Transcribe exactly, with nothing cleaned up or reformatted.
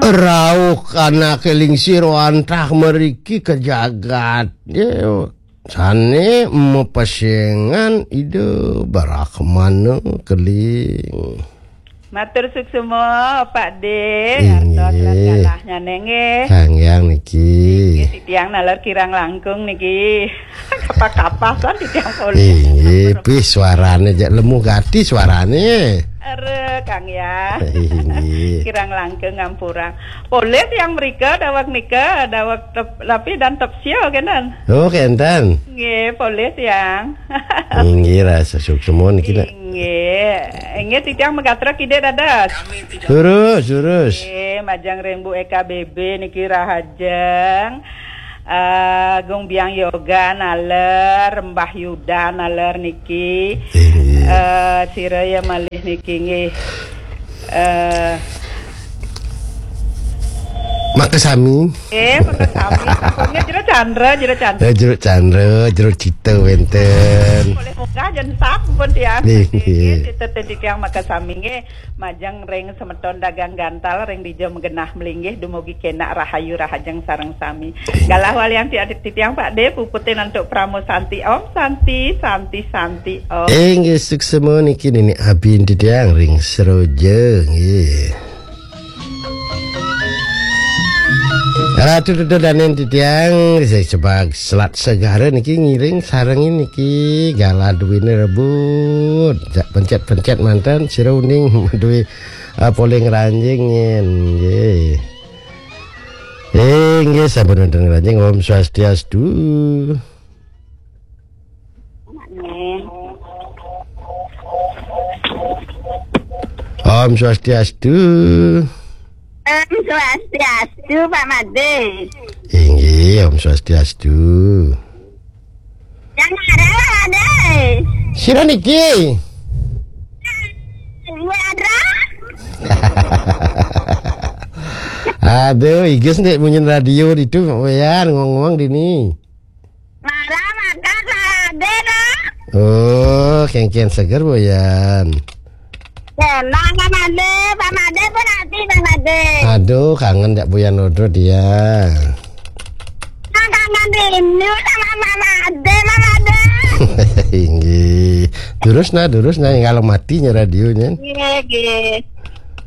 Rauh anak lingsir wantah mriki ka jagat. Ya, sane mapesengan Ida Brahmana keling. Matur suksma, Pak De. Inggih. Artos lan galahnya nggih. Kang Yang niki. Nggih, titiang naler kirang langkung niki. Kapah-kapah kan titiang polih. Inggih, pih suarane jak lemu gati suarane. Ere, Kang Yang. Inggih. Kirang langkung ngampurang. Polih yang mrika dawek nika, dawek tep, lapi dan tepsio kenten. Oh, kenten. Nggih, polih yang. Inggih, rasa suksma niki nak. Inggih. Inggih, titiang magatra kidik dados. Lurus, lurus. Nggih, majeng ring Bu E K B B niki rahajeng. Eh, Gung Biang Yoga naler, Mbah Yuda naler niki. Inggih. Eh, sira ya malih niki nggih. Eh, Makasami. Eh, makasami. Sampun nggih, Jero Chandra, Jero Chandra. Eh, Jero Chandra, Jero Cita wenten. Boleh munggah jen sat pun tiang. Nggih, nggih. Nggih, titah titiang makasami nggih. Majeng ring semeton dagang gantal ring dija magenah malinggih dumugi kenak rahayu rahajeng sareng sami. Galah walian ti adik titiang Pak De puputin antuk Pramo Santi Om Santi Santi Santi Om. Inggih suksma niki Nenek Abin titiang ring Seroja nggih. Ratu Tutu Danen titiang, saya sebab Selat Segara niki ngiring sarengin niki galah duwine rebut. Jak pencet-pencet mantan sira uning duwe, ah, polih ngranjing nggih. Eh, nggih sampun wonten ngranjing. Om Swastiastu. Om Swastiastu. Om Swastiastu, Pak Made. Inggih, Om Swastiastu. Yang ada, Pak Made. Sira niki? Ibu Adra. Aduh, iges nek munyin radio itu, Mak Wayan, ngomong dini. Marah maka Pak Made, no? Oh, kengken seger, Boyan. Tenang, Pak Made. Pak Made pun hati, Pak Made. Aduh, kangen jak Boyan Odro dia. Nah, kangen rindu sama Pak Made, Pak Made. Inggih. Terus nah, terus nah, kalau matinya radionya. Iya, iya.